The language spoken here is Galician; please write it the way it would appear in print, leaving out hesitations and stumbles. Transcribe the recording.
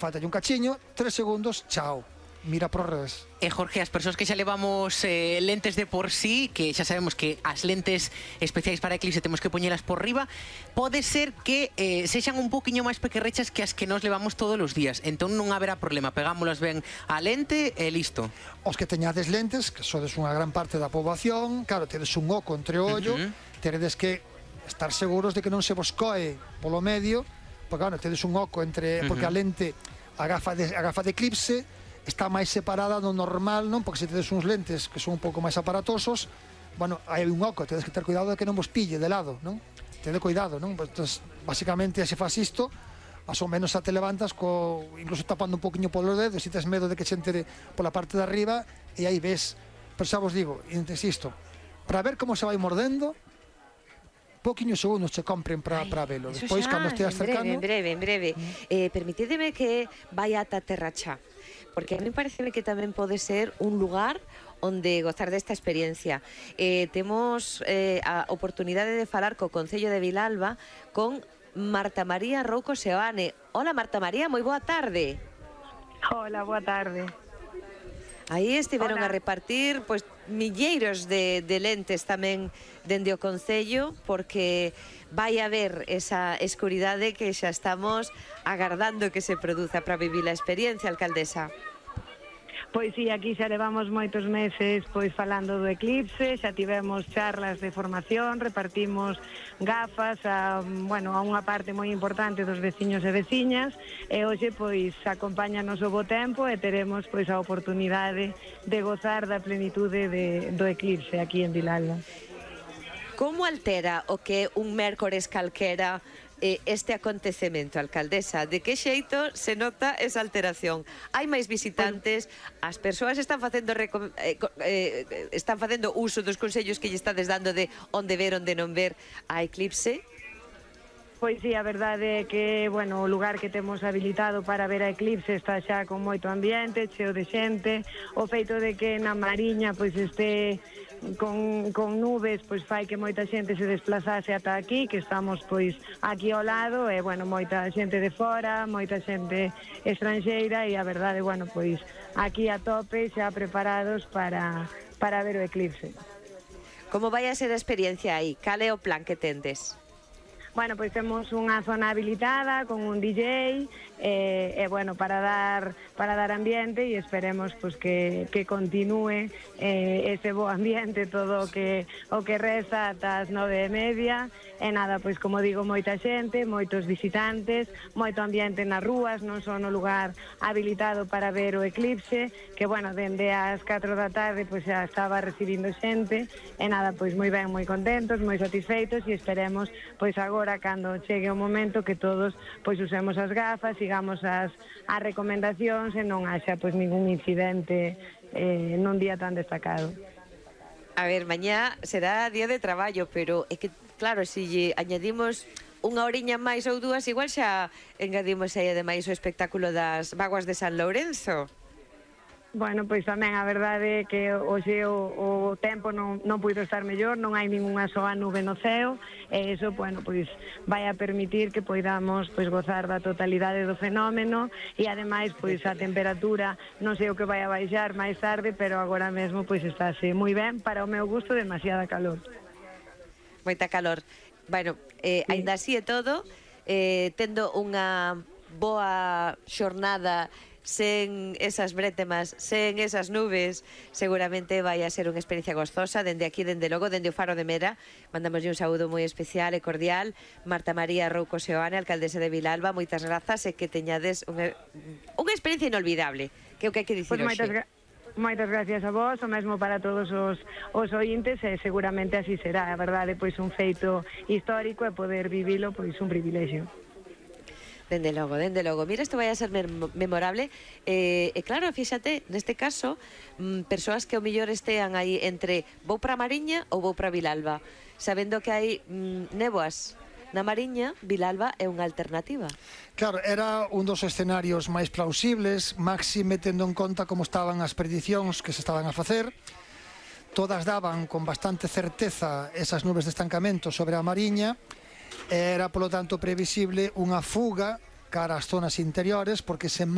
falta un cachiño, 3 segundos, chao. Mira por revés. Jorge, as persoas que xa levamos lentes de por sí, que xa sabemos que as lentes especiais para eclipse temos que poñelas por riba, pode ser que sexan un poquinho máis pequerrechas que as que nos levamos todos os días. Entón non haberá problema, pegámolas ben á lente e listo. Os que teñades lentes, que sodes unha gran parte da poboación, claro, tedes un oco entre o ollo, teredes que estar seguros de que non se vos coe polo medio, porque, bueno, tedes un oco entre... Porque a lente, a gafa de eclipse, está máis separada do normal, non? Porque se tedes uns lentes que son un pouco máis aparatosos, bueno, hai un oco, tedes que ter cuidado de que non vos pille de lado, non? Tede cuidado, non? Pues, basicamente, se faz isto, más ou menos xa te levantas incluso tapando un poquinho polos dedos, se tes medo de que se entere pola parte de arriba, e aí ves. Pero xa vos digo, insisto, para ver como se vai mordendo, pouquiños segundos che compren para velo. Despois, cando esteas cercano... En breve. Permitideme que vai ata terra xa, porque a mí pareceme que tamén pode ser un lugar onde gozar desta experiencia. Temos a oportunidade de falar co Concello de Vilalba con Marta María Rouco Seoane. Hola, Marta María, moi boa tarde. Hola, boa tarde. Aí estiveron a repartir pois milleiros de lentes tamén dende o Concello, porque vai haber esa escuridade que xa estamos agardando que se produza para vivir a experiencia, alcaldesa. Pois sí, aquí xa levamos moitos meses pois falando do eclipse, xa tivemos charlas de formación, repartimos gafas a unha parte moi importante dos veciños e veciñas, e hoxe pois acompáñanos o bo tempo e teremos pois a oportunidade de gozar da plenitude do eclipse aquí en Vilalba. Como altera o que un mércores calquera este acontecemento, alcaldesa? De que xeito se nota esa alteración? Hai máis visitantes, as persoas están facendo uso dos consellos que lle estades dando de onde ver, onde non ver a eclipse? Pois sí, a verdade é que, o lugar que temos habilitado para ver a eclipse está xa con moito ambiente, cheo de xente. O feito de que na Mariña pois este con nubes, pois fai que moita xente se desplazase ata aquí, que estamos pois aquí ao lado, e moita xente de fora, moita xente estranxeira, e a verdade, pois aquí a tope xa preparados para ver o eclipse. Como vai a ser a experiencia aí? Cal é o plan que tendes? Pois temos unha zona habilitada con un DJ para dar ambiente, e esperemos pois que continúe ese bo ambiente todo o que resta ata as 9:30. E nada, pois como digo, moita xente, moitos visitantes, moito ambiente nas rúas, non só no lugar habilitado para ver o eclipse, que dende as 4 da tarde pois xa estaba recibindo xente, e nada, pois moi ben, moi contentos, moi satisfeitos, e esperemos pois agora, cando chegue o momento, que todos pois usemos as gafas, sigamos as recomendacións e non haxa pois ningún incidente nun día tan destacado. A ver, mañá será día de traballo, pero é que, claro, se lle añadimos unha horiña máis ou dúas, igual xa engadimos aí ademais o espectáculo das vaguas de San Lourenzo. Pois tamén a verdade é que hoxe o tempo non puido estar mellor, non hai ningunha soa nube no ceo, e iso, pois vai a permitir que poidamos pois gozar da totalidade do fenómeno, e ademais pois a temperatura non sei o que vai a baixar máis tarde, pero agora mesmo pois estáse moi ben, para o meu gusto demasiada calor. Moita calor. Aínda así e todo, tendo unha boa xornada sen esas brétemas, sen esas nubes, seguramente vai a ser unha experiencia gozosa. Dende aquí, dende logo, dende o Faro de Mera, mandamos un saúdo moi especial e cordial. Marta María Rouco Seoane, alcaldesa de Vilalba, moitas grazas, e que teñades unha experiencia inolvidable, que é o que hai que dicir hoxe. Moitas gracias a vos, o mesmo para todos os ointes, e seguramente así será. A verdade, pois un feito histórico, e poder vivilo, pois un privilexio. Dende logo. Mira, isto vai a ser memorable. E claro, fíxate, neste caso, persoas que ao mellor estean aí entre vou para a Mariña ou vou para Vilalba, sabendo que hai néboas na Mariña, Vilalba é unha alternativa. Claro, era un dos escenarios máis plausibles, máxime tendo en conta como estaban as predicións que se estaban a facer. Todas daban con bastante certeza esas nubes de estancamento sobre a Mariña. Era, polo tanto, previsible unha fuga cara ás zonas interiores, porque se